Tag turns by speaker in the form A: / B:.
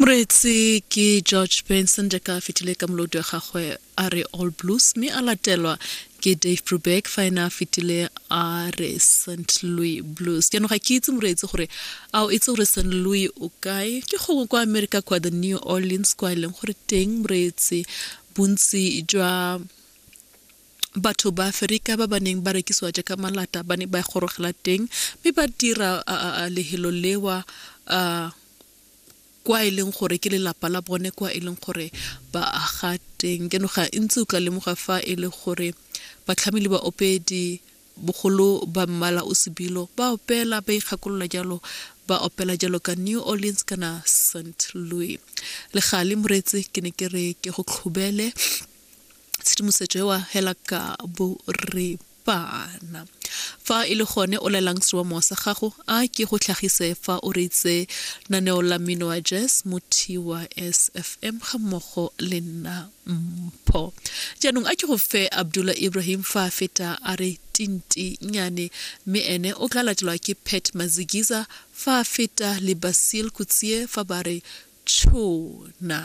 A: Moreetsi ke George Benson jaaka a fetile ka molodi wa gagwe a re All Blues mme a latelwa ke Dave Brubeck fa ena a fetile a re St. Louis Blues. Jaanong ga ke itse moreetsi gore a o itse gore St. Louis o kae, ke gongwe kwa America kwa the New Orleans kwa e leng gore teng moreetsi bontsi jwa batho ba Aferika ba ba neng ba rekisiwa jaaka malata ba ne ba gorogela teng mme ba dira lehelo lewa kwa e leng gore ke lelapa la bone kwa e leng gore ba aga teng. Jaanong ga ntse o tla lemoga fa e le gore batlhami le baopedi bogolo ba mmala o sebilo ba opela ba ikgakolola jalo ba opela jalo ka New Orleans kana St. Louis. Le gale moreetsi ke ne ke re ke go tlhobele tshedimosetso ewa hela ka boripana. Fa e le gone o lelang seromamowa sa gago, a ke go tlhagise fa o reitse naneo la mmino wa jazz mo TYSFM ga mmogo le nna Mpho. Jaanong a ke go fe Abdullah Ibrahim fa a feta a re tinti nyane mme ene o tla latelwa ke Pat Mazigiza fa a feta le Basil Kutsie fa ba re tshona.